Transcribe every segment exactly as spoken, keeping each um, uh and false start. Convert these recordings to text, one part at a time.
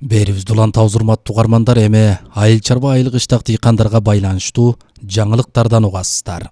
Берибизди улантабыз урматтуу угармандар, эми айыл чарба айыл кыштак дыйкандарга байланыштуу жаңылыктардан угасыздар.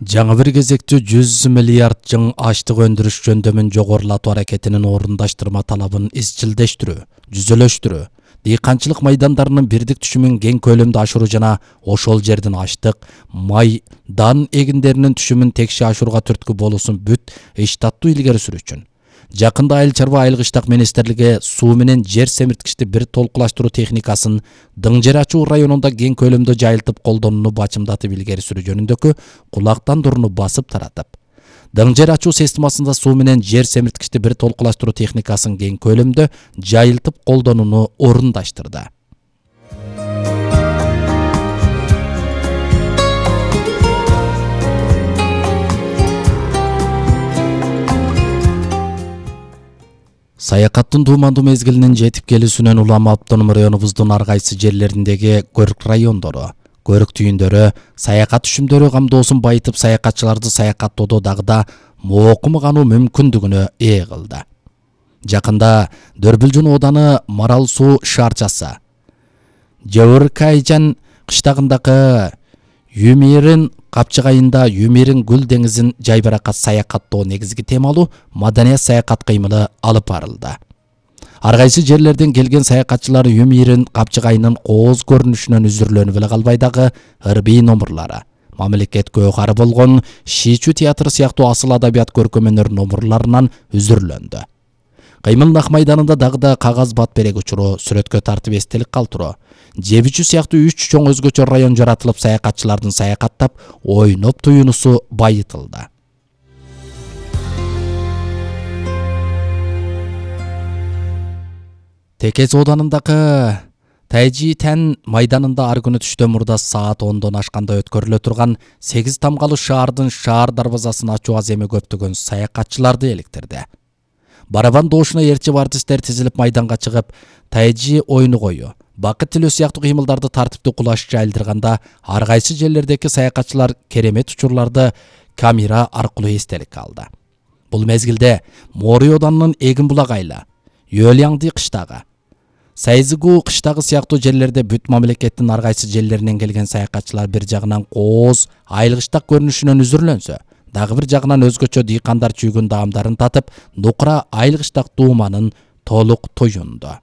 Жаңы бир кезекте жүз миллиард жың аштык өндүрүш жөндөмүн жогорулатуу аракетинин орундаштырма талабын изчилдештирүү, жүзөлөштүрүү, дыйканчылык майдандарынын бирдик түшүмүн кең көлөмдө ашыруу жана ошол жердин аштык, май, дан эгиндеринин түшүмүн текше ашырууга түрткү болуусун бүт иштаттуу илгери сүрүүчүн жакында айыл чарба айыл кыштак министрлиги суу менен жер семирткичти бир толкулаштыруу техникасын Дың жер ачуу районунда кең көлөмдө жайылтып колдонууну бачымдатып илгери сүрүү жөнүндөгү кулактандырууну басып таратып, Дың жер ачуу системасында суу менен жер семирткичти бир толкулаштыруу техникасын кең көлөмдө жайылтып колдонууну орундаштырды. Саякаттын туумандуу мезгилинин жетип келүүсүнөн улам автоном районубуздун ар кайсы жерлериндеги көрк райондору, көрк түйүндөрү, саякат түшүмдөрү камдоосун байытып, саякатчыларды саякаттоодо дагы да моокумгануу мүмкүндүгүнө ээ кылды. Жакында Дөрбүлжүн ооданы Марал суу шаарчасы Жабыркайжан кыштагындагы Юмирин капчыгайында Юмирин гүл деңизин жайбаракат саякаттоо негизги темалуу маданият саякат кыймылы алып барылды. Ар кайсы жерлерден келген саякатчылар Юмирин капчыгайынын кооз көрүнүшүнөн үзүрүлөнүп эле калбай дагы ырбий номурлары, мамлекетке өкары болгон Шичүү театры сыяктуу асыл адабият көркөм өнөр номурларынан үзүрүлөндү. Кыймылдын ак майданында дагы да кагаз бат берек учуру, сүрөткө тартып эстелик калтыруу, Жебичүү сыяктуу үч чоң өзгөчө район жаратылып, саякатчылардын саякаттап, ойноп туюнусу байытылды. Текес оодарындагы Тайжи Тән майданында ар күнү түштөн мурда саат ондон ашканда өткөрүлө турган сегиз тамгалы шаардын шаар дарбазасын ачуу аземи көптөгөн саякатчыларды эликтирди. Барабан доошуна ээрчип артисттер тизилип майданга чыгып, Тайжи ойну кою, бакыт тилөө сыяктуу кыймылдарды тартиптүү кулаш жайлдырганда, ар кайсы жерлердеги саякатчылар керемет учурларды камера аркылуу эстеликке алды. Бул мезгилде Мори оодарынын Эгин булак айла, Йөлянди кыштагы, Сайзыгуу кыштагы сыяктуу жерлерде бүт мамлекеттин ар кайсы жерлеринен келген саякатчылар бир жагынан кооз айыл кыштак көрүнүшүнөн үзүрүлөнсө, дагы бир жагынан өзгөчө дыйкандар чүйгүн даамдарын татып, нукура айыл кыштак тууманын толук туюнду.